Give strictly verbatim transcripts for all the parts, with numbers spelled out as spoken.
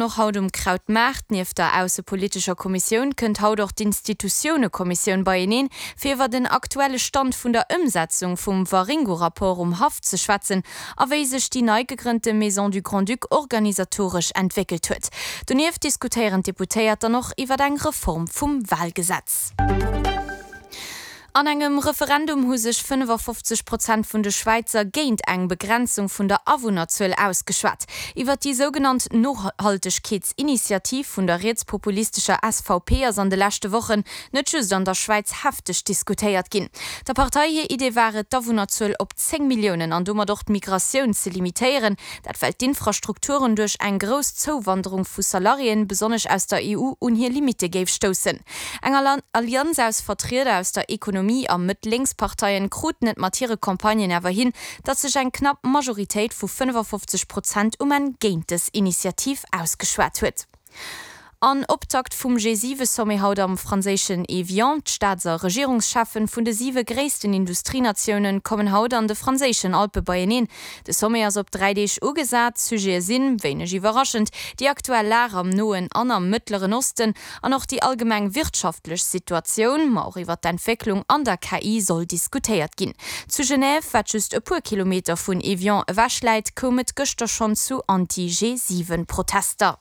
Och haut um Krautmaart, Nieft der aussepolitescher Kommissioun kënnt haut och d'Institutiounekommissioun beieneen, fir iwwer den aktuelle Stand vun der Ëmsetzung vum Waringo-Rapport um Haff ze schwätzen a wéi sech déi nei gegrënnte Maison du Grand-Duc organisatoresch entwéckelt huet. Donieft diskutéieren d'Deputéiert dann och iwwer eng Reform vum Walgesetz. An engem Referendum hu sech fënnefafofzeg Prozent vun de Schwäizer géint eng Begrenzung vun der Awunnerzuel ausgeschwat. Iwwer déi sougenannt Nohaltegkeetsinitiativ vun der rietspopulistescher S V P ass an de leschte Wochen net just an der Schwäiz hefteg diskutéiert ginn. Der Partei hir Idee war et, d'Awunnerzuel op zéng Milliounen an domat och d'Migratioun ze limitéieren. Dat well d'Infrastrukturen duerch eng grouss Zouwanderung vu Salariéen, besonnesch aus der E U, un hir Limitte géif stoussen. Eng Allianz aus Vertrieder aus der Ekonomie a Mëtt-Lénks-Parteien kruten et mat hire Campagnen awer hin, datt sech eng knapp Majoritéit vu fënnefafofzeg Prozent um Enn géint dës Initiativ ausgeschwat huet. An Optakt vum G siwe Sommet haut am franséischen Evian. D'Staats- a Regierungscheffen vun de siwe gréissten Industrienatiounen kommen haut an de franséischen Alpe beieneen. De Sommet ass op dräi Deeg ugesat. Sujete sinn, wéineg iwwerraschend, déi aktuell Lag am Noen an am Mëttleren Osten an och déi allgemeng wirtschaftlech Situatioun, ma och iwwer d'Entwécklung an der K I soll diskutéiert ginn. Zu Genève, wat just e puer Kilometer vun Evian ewech läit, koum et gëschter schonn zu Anti-G siwen Protester.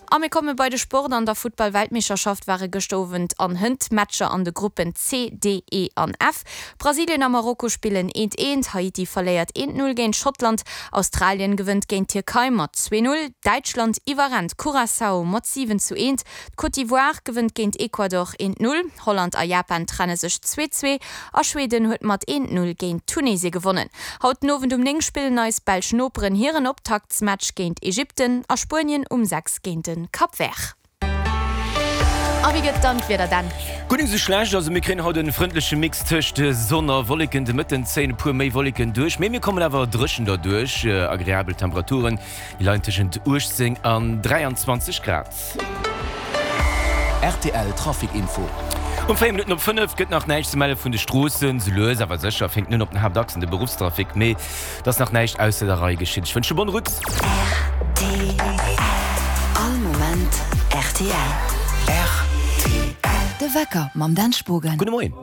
A mir komme bei de Sport. An der Futtball-Weltmeeschterschaft ware gëschter Owend an hënt Matcher an de Gruppen C, D, E an F. Brasilien a Marokko spillen eent eent, Haiti verléiert eent null géint Schottland, Australien gewënnt géint Tierkei mat zwee null, Däitschland iwwerrennt Curaçao mat siwen zu eent, d'Côte d'Ivoire gewënnt géint Ecuador eent null, Holland a Japan trenne sech zwee zwee a Schweden huet mat eent null géint Tunesie gewonnen. Haut den Owend um néng spillen eis belsch Noperen hiren Optaktsmatch géint Ägypten a Spuenien um sechs géint den Cap Vert. A wie gëtt dann d'Wieder dann? Gutt nix esou schlecht, also mir kréien haut en frëndleche Mix tëscht Sonn a Wolleken. De Mëtten zéien e puer méi Wolleken duerch, mee mir kommen awer dréchen derduerch. Agreabel Temperaturen, déi leien tëschent uechtzéng an dräianzwanzeg Grad. R T L Trafic Info. Um véier Minutten op fënnef gëtt nach näischt ze melle vun de Stroossen. Sou lues awer sécher fänkt nun op den Haaptachsen de Beruffstrafic, mee et ass nach näischt ausser der Rei geschitt. Ech wënsche bonne route. R T L. All Moment R T L. R T L. De Wecker mam Dan Spogen. Gudde Moien.